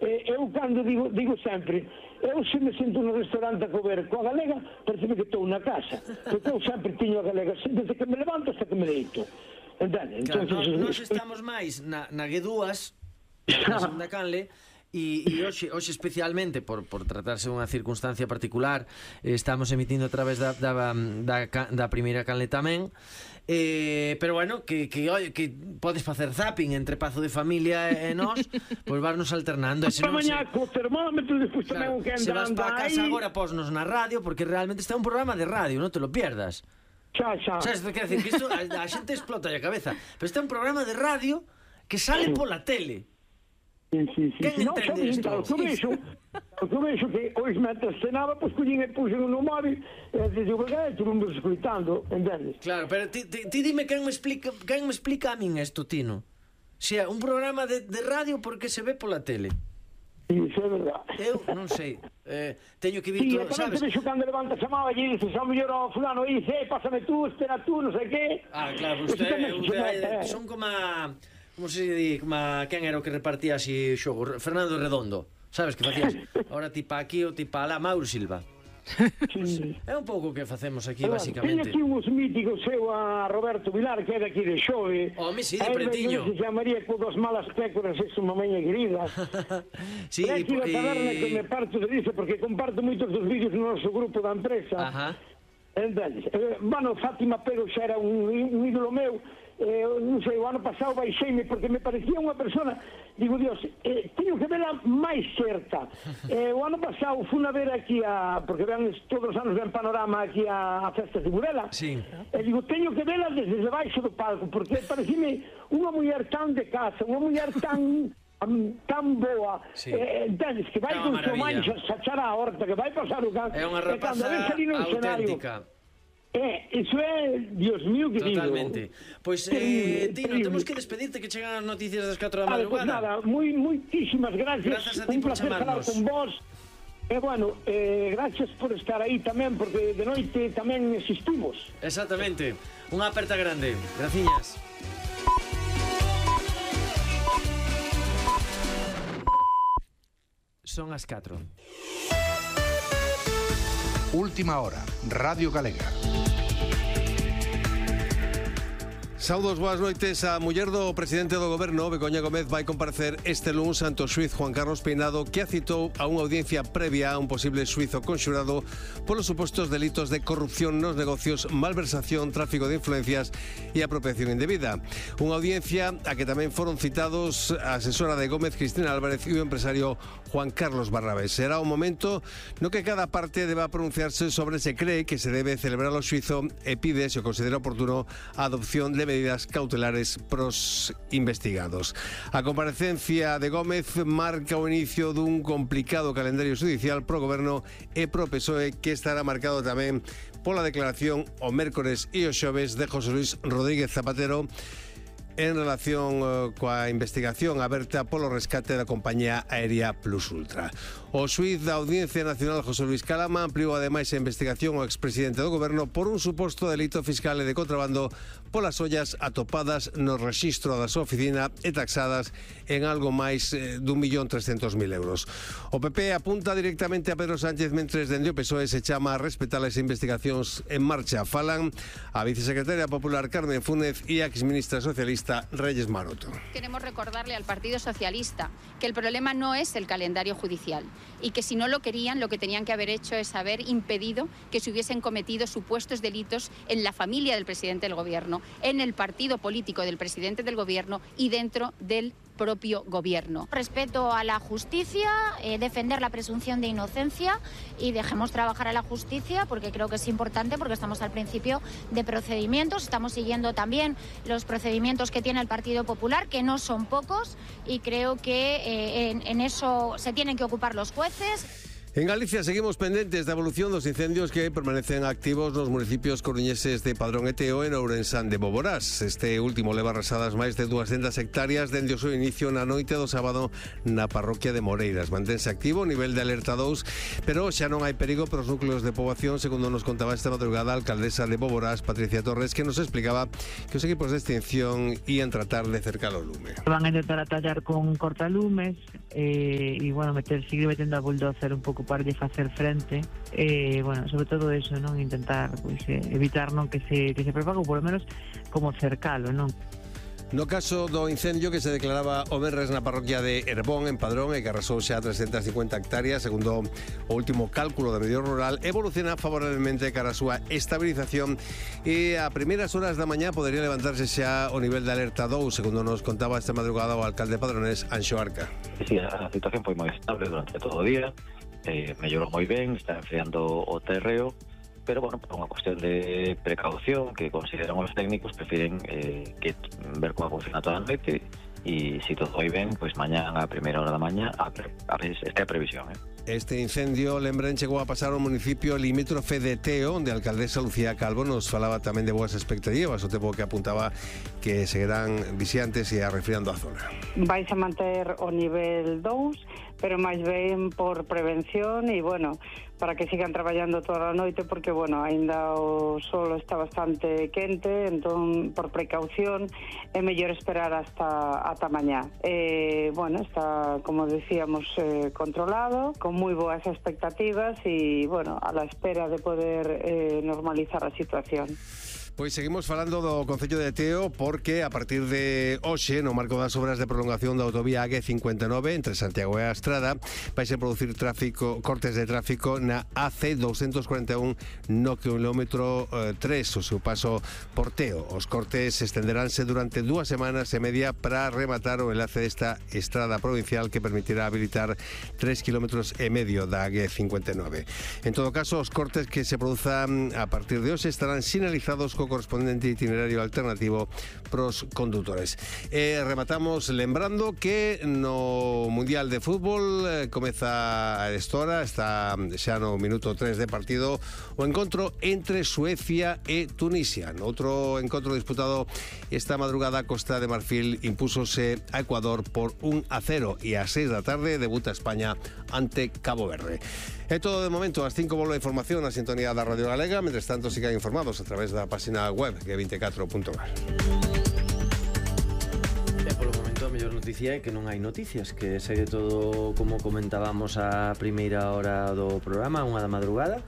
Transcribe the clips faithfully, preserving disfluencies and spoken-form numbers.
eu cando digo, digo sempre, eu se me sinto no restaurante a comer coa galega, parece que estou na casa, porque eu sempre tiño a galega, desde que me levanto hasta que me deito. Entende? Claro, Entonces, nós, nós estamos máis na, na G dúas, na segunda canle, e, e hoxe, hoxe especialmente por, por tratarse unha circunstancia particular, eh, estamos emitindo a través da, da, da, da primeira canle tamén. Eh, pero bueno, que, que, oye, que podes facer zapping entre Pazo de Familia e nós, pois varnos alternando. E se non, se, co termómetro, despois claro, tamén que se vas andando para casa aí. agora, posnos na radio, porque realmente está un programa de radio, non te lo pierdas. Xa, xa. Sabes, quer decir, que isto, a, a xente explota a cabeza, pero está un programa de radio que sale pola tele. Sí, sí, sí. Quen No, entende isto? O que vexo, o que vexo que hoxe mentre cenaba, pois collín e puxen no móvil e digo, que tu non me escoitando, entendes? Claro, pero ti, ti, ti dime quen me explica, quen me explica a min isto, Tino. Se é un programa de, de radio porque se ve pola tele. Sí, iso é verdad. Eu non sei, eh, teño que vir Sí, todo, tamén sabes? te vexo cando levanta a chamada e dices, a mellor ao fulano e dice, eh, pásame tú, espera tú, non sei que. Ah, claro, usted, usted son como a, como se di, como a, quen era o que repartía así xogo, Fernando Redondo, sabes, que facías ahora ti pa aquí ou ti pa alá, Mauro Silva. Sí. É un pouco o que facemos aquí, Teño basicamente. aquí uns míticos eu a Roberto Vilar, que é daqui de Xove. Home, sí, de Pretiño. Se chamaría con dos malas pécoras, é unha maña querida. Sí, é aquí e... da taberna que me parto de dice, porque comparto moitos dos vídeos no noso grupo da empresa. Ajá. Entonces, eh, bueno, Fátima Pego xa era un, un ídolo meu. Eh, non sei, o ano pasado baixeime porque me parecía unha persona, digo, Dios, eh, teño que vela máis certa. Eh, o ano pasado fui a ver aquí a, porque vean todos os anos ven Panorama aquí a, a festa de Burela. Sí. E digo, teño que vela desde debaixo do palco, porque parecime unha muller tan de casa, unha muller tan tan boa, sí. eh, entendes, que vai é con seu maravilla. mancha sachar a horta, que vai pasar o can, É unha e cando rapaza ves ali no escenario, auténtica. Eh, iso é, Dios mío, que digo. Totalmente. Pois, eh, Tino, temos que despedirte, que chegan as noticias das catro da madrugada. Pues nada, moi, moitísimas gracias. Grazas a ti un por placer falar chamarnos. con vos. E, bueno, eh, gracias por estar aí tamén, porque de noite tamén existimos. Exactamente. Unha aperta grande. Graciñas. Son as catro. Última hora, Radio Galega. Saudos, boas noites. A muller do presidente do goberno, Begoña Gómez, vai comparecer este luns ante o xuiz Juan Carlos Peinado, que a citou a unha audiencia previa a un posible xuizo conxurado polos supostos delitos de corrupción nos negocios, malversación, tráfico de influencias e apropiación indebida. Unha audiencia a que tamén foron citados a asesora de Gómez, Cristina Álvarez, e o empresario Juan Carlos Barrabés. Será un momento no que cada parte deba pronunciarse sobre se cree que se debe celebrar o xuizo e pide, se o considera oportuno, a adopción de medidas cautelares pros investigados. A comparecencia de Gómez marca o inicio dun complicado calendario judicial pro goberno e pro P S O E, que estará marcado tamén pola declaración o mércores e o xoves de José Luis Rodríguez Zapatero en relación uh, coa investigación aberta polo rescate da compañía aérea Plus Ultra. O xuiz da Audiencia Nacional, José Luis Calama, ampliou ademais a investigación ao expresidente do goberno por un suposto delito fiscal e de contrabando polas ollas atopadas no rexistro da súa oficina e taxadas en algo máis eh, dun millón trescentos mil euros. O P P apunta directamente a Pedro Sánchez, mentres dende o P S O E se chama a respetar as investigacións en marcha. Falan a vicesecretaria popular Carmen Fúnez e a exministra socialista Reyes Maroto. Queremos recordarle al Partido Socialista que el problema no es el calendario judicial y que si no lo querían, lo que tenían que haber hecho es haber impedido que se hubiesen cometido supuestos delitos en la familia del presidente del gobierno, en el partido político del presidente del gobierno y dentro del propio gobierno. Respeto a la justicia, eh, defender la presunción de inocencia y dejemos trabajar a la justicia, porque creo que es importante, porque estamos al principio de procedimientos, estamos siguiendo también los procedimientos que tiene el Partido Popular, que no son pocos, y creo que eh, en, en eso se tienen que ocupar los jueces. En Galicia seguimos pendentes da evolución dos incendios que permanecen activos nos municipios coruñeses de Padrón e Teo e Ourensán de Boborás. Este último leva arrasadas máis de duascentas hectáreas dende o seu inicio na noite do sábado na parroquia de Moreiras. Mantense activo o nivel de alerta dous, pero xa non hai perigo para os núcleos de poboación, segundo nos contaba esta madrugada a alcaldesa de Boborás, Patricia Torres, que nos explicaba que os equipos de extinción ian tratar de cercar o lume. Van a intentar atallar con cortalumes e, eh, bueno, meter, seguir metendo a bulldozer un pouco para de facer frente, e, eh, bueno, sobre todo eso, non? Intentar, pois, eh, evitar non que se, que se propague, ou por lo menos como cercalo, non? No caso do incendio que se declaraba o venres na parroquia de Herbón, en Padrón, e que arrasou xa trescentas cincuenta hectáreas, segundo o último cálculo da medio rural, evoluciona favorablemente cara a súa estabilización e a primeiras horas da mañá podería levantarse xa o nivel de alerta dous, segundo nos contaba esta madrugada o alcalde padronés, Anxo Arca. Sí, a situación foi moi estable durante todo o día, eh, mellorou moi ben, está enfriando o terreo, pero, bueno, por unha cuestión de precaución que consideran os técnicos, prefiren eh, que ver como funciona toda a noite e se todo vai ben, pois mañá a primeira hora da mañá a, a, esta é a previsión, eh? Este incendio, lembren, chegou a pasar ao municipio limítrofe de Teo, onde a alcaldesa Lucía Calvo nos falaba tamén de boas expectativas, o tempo que apuntaba que seguirán vixiantes e arrefriando a zona. Vais a manter o nivel dous, pero máis ben por prevención e, bueno, para que sigan traballando toda a noite, porque, bueno, aínda o solo está bastante quente, entón, por precaución, é mellor esperar hasta ata mañá. Eh, bueno, está, como decíamos, eh, controlado, con moi boas expectativas e, bueno, a la espera de poder eh, normalizar a situación. Pois seguimos falando do Concello de Teo porque a partir de hoxe, no marco das obras de prolongación da autovía A G cincuenta e nove entre Santiago e a Estrada, vai se producir tráfico, cortes de tráfico na A C doscientos cuarenta e un no kilómetro eh, tres, o seu paso por Teo. Os cortes estenderánse durante dúas semanas e media para rematar o enlace desta estrada provincial que permitirá habilitar tres kilómetros e medio da A G cincuenta e nove. En todo caso, os cortes que se produzan a partir de hoxe estarán sinalizados co correspondente itinerario alternativo pros condutores. E rematamos lembrando que no Mundial de Fútbol eh, comeza a esta hora, está xa no minuto tres de partido, o encontro entre Suecia e Tunisia. No outro encontro disputado esta madrugada, Costa de Marfil impúsose a Ecuador por un a cero e ás seis da tarde debuta España ante Cabo Verde. É todo de momento, ás cinco volve a información na sintonía da Radio Galega, mentres tanto sigan informados a través da página web g veinticuatro punto gal. E polo momento a mellor noticia é que non hai noticias, que segue todo como comentábamos a primeira hora do programa, unha da madrugada.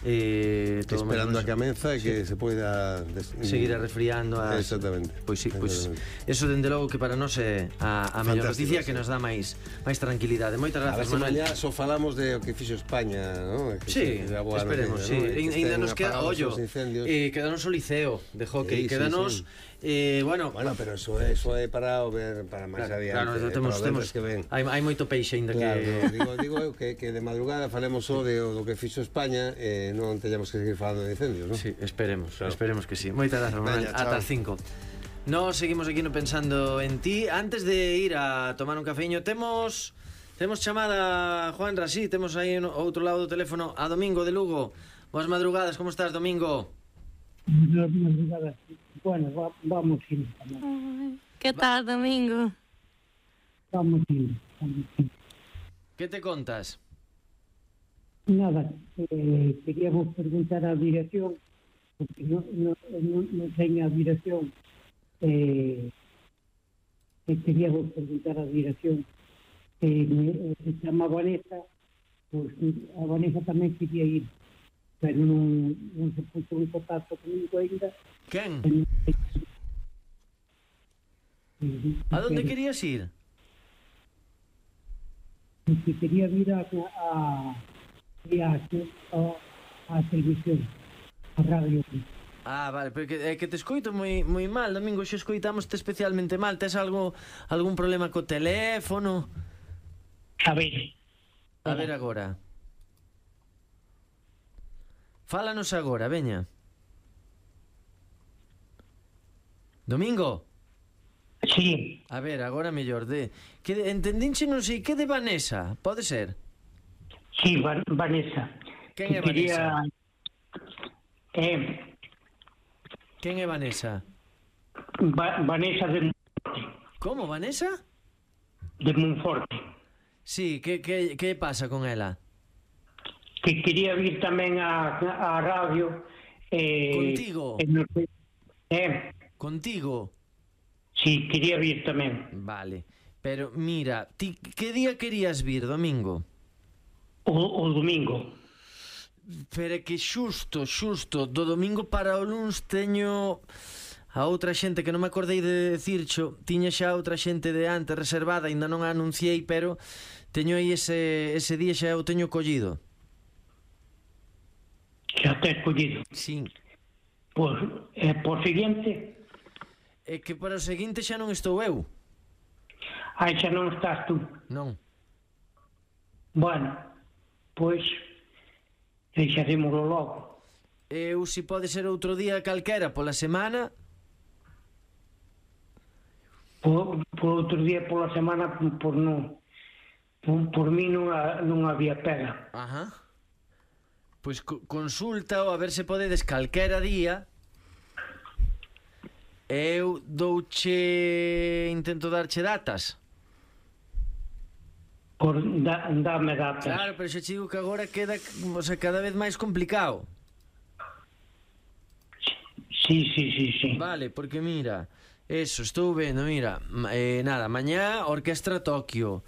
Eh, todo esperando menos, a que amenza e que sí, se poida des... seguir a resfriando as... Exactamente. Pois sí, pois eso dende logo que para nós é a, a mellor noticia, sí, que nos dá máis máis tranquilidade. Moitas grazas, Manuel. A ver se mañá só falamos de o que fixo España, ¿no? Que sí, esperemos, sí. Ainda nos queda, ollo, eh, quedanos o liceo de hockey, sí, quedanos... Sí, sí. Eh, bueno, bueno, pero eso é, eso é para ver para máis claro, adiante. Claro, temos, temos que ven. Hai, hai moito peixe ainda claro, que no, digo, digo eu que, que de madrugada falemos só de do que fixo España e eh, non teñamos que seguir falando de incendios, ¿no? Sí, esperemos, claro. Esperemos que sí. Moitas grazas, Manuel. Ata as cinco. Nos seguimos aquí no pensando en ti. Antes de ir a tomar un cafeño, temos temos chamada Juan Rasí, temos aí no outro lado do teléfono a Domingo de Lugo. Boas madrugadas, como estás, Domingo? Boas madrugadas. Bueno, va, vamos ir. ¿Qué tal, Domingo? Vamos ir. Vamos ir. ¿Qué te contas? Nada, eh, queríamos preguntar a dirección, porque no, no, no, no tenga dirección. Eh, eh, queríamos preguntar a dirección. Eh, me, se llama Vanessa, pues a Vanessa tamén quería ir, pero non, non se puso en contacto comigo ainda. Quen? A donde querías ir? Que quería ir a a, a, a, a televisión, a radio. Ah, vale, pero que, é que te escoito moi moi mal, Domingo, xe escoitamos-te especialmente mal. Tes algo algún problema co teléfono? A ver. A ver agora. Fálanos agora, veña. Domingo? Sí. A ver, agora mellor de... que de, entendinche non sei que de Vanessa, pode ser? Sí, Van- Vanessa. Quen é Que quería- Vanessa? Eh, Quen é Vanessa? Va- Vanessa de, Como, Vanessa? de Monforte. Sí, que, que, que pasa con ela? Que quería vir tamén a, a radio. Eh, Contigo? Eh, no sei- eh, Contigo? sí, quería vir tamén. Vale, pero mira, ti que día querías vir, domingo? O, o domingo. Pero é que xusto, xusto, do domingo para o luns teño a outra xente que non me acordei de decircho, tiña xa outra xente de antes reservada, ainda non a anunciei, pero teño aí ese, ese día xa o teño collido. Xa te escollido. Sí. Pois, eh, por seguinte, É que para o seguinte xa non estou eu. aí xa non estás tú. Non. Bueno, pois, deixaremoslo logo. Eu, se pode ser outro día calquera pola semana. Por, por outro día pola semana, por non... Por, por mí non, ha, non había pega. Ajá. Pois co consulta a ver se podedes calquera día. Eu douche... Intento darche datas. Por, da, dame datas. Claro, pero xa te digo que agora queda, o sea, cada vez máis complicado. Sí, sí, sí, sí. Vale, porque mira, eso, estou vendo, mira, ma- eh, nada, mañá Orquestra Tokio,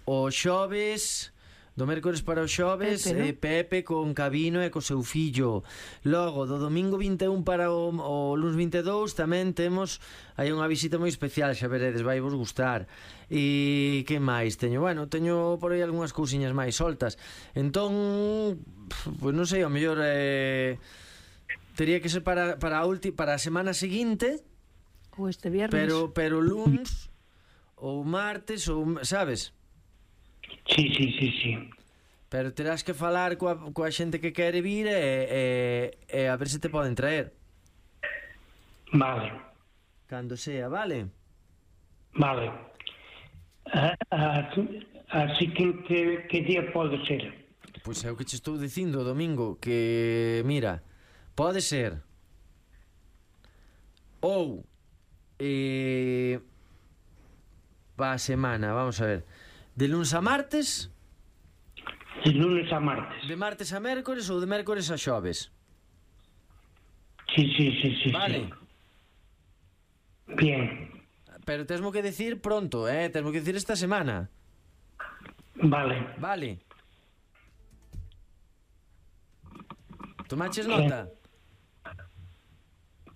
o xoves, do mércores para o xoves, Pepe, ¿no? eh, Pepe con Cabino e co seu fillo. Logo, do domingo vinte e un para o, o luns vinte e dous tamén temos hai unha visita moi especial, xa veredes, vai vos gustar. E que máis teño? Bueno, teño por aí algunhas cousiñas máis soltas. Entón, pois non sei, ao mellor eh, tería que ser para, para, a ulti, para a semana seguinte, O este viernes. pero pero luns ou martes ou, sabes? Sí, sí, sí, sí. Pero terás que falar coa, coa xente que quere vir e, e, e a ver se te poden traer. Vale, Cando sea, vale? vale. Ah, ah, así que, que, que día pode ser? Pois é o que che estou dicindo, domingo, que, mira, pode ser ou eh, pa semana, vamos a ver, de luns a martes, De lunes a martes. de martes a mércores ou de mércores a xoves. Sí, sí, sí, sí. Vale. Sí. Bien, Pero tesmo que decir pronto, eh, tesmo que decir esta semana. vale. Vale. Tomaches nota?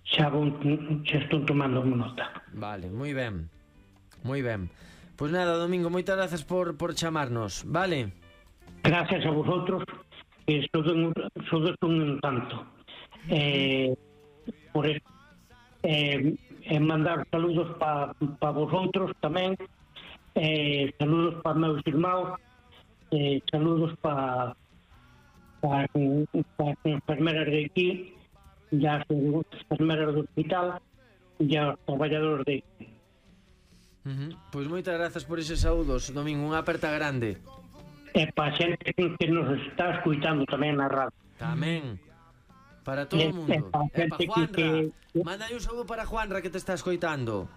Xa, vou, xa estou tomando nota. Vale, moi ben. Moi ben. Pois nada, Domingo, moitas grazas por, por chamarnos, vale? Gracias a vosotros, que sodes un, sodes un encanto. Eh, por eso, eh, eh, mandar saludos para pa vosotros tamén, eh, saludos para meus irmãos, eh, saludos para para pa as enfermeras de aquí, e as enfermeras do hospital, e aos traballadores de aquí. Uh -huh. Pois moitas grazas por eses saúdos, Domingo, unha aperta grande. E para a xente que nos está escuitando tamén na radio. Tamén. Para todo o mundo. E para a E para xente Juanra. que- Manda un saúdo para Juanra que te está escoitando.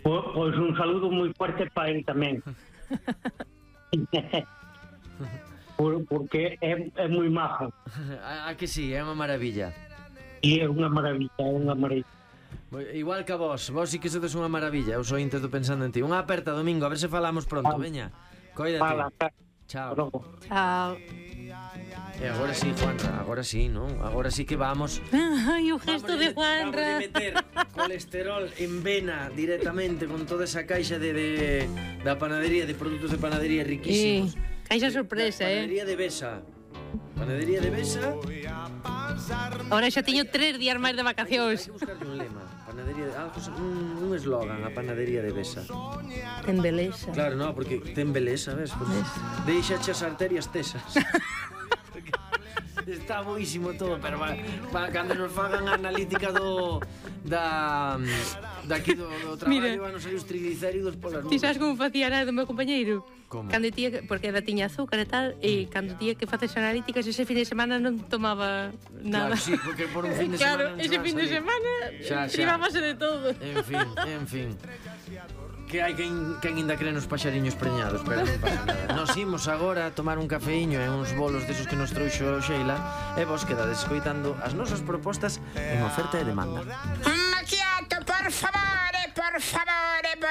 Po- Pois un saludo moi fuerte para ele tamén. Por, porque é, é moi majo. A, a que sí, é unha maravilla. E é unha maravilla, é unha maravilla. Igual que a vos, vos sí que sodes unha maravilla. Eu sou intento pensando en ti. Unha aperta, Domingo, a ver se falamos pronto, Vale. veña. Coídate. Fala, Chao. Chao. E agora sí, Juanra, agora sí, non? Agora sí que vamos. Ai, o gesto de Vamos Juanra. a meter colesterol en vena directamente con toda esa caixa de, de da panadería, de produtos de panadería riquísimos. Sí, caixa sorpresa, eh. Panadería de Besa. Panadería de Besa. Ahora xa teño tres días máis de Hai vacacións. que buscarlle un lema. Panadería de algo, un, un eslogan, a panadería de Besa. Ten beleza. Claro, no, porque ten beleza, ves? Porque deixa as arterias tesas. Está boísimo todo, pero para, para cando nos fagan a analítica do da daqui do, do traballo van a salir os triglicéridos polas nubes. Ti sabes como facía nada do meu compañeiro? Como? Cando tía, que- porque ela tiña azúcar e tal, e cando tía que faces analíticas, ese fin de semana non tomaba nada. Claro, sí, porque por un fin de Claro, semana non ese se va a fin de salir. semana Xa, xa. privábase de todo. En fin, en fin. Que hai quen, quen ainda cree nos paxariños preñados, pero non pasa nada. Nos imos agora a tomar un cafeíño e uns bolos desos que nos trouxo Sheila e vos quedades escoitando as nosas propostas en oferta e demanda. Un macchiato, por favore, por favore, por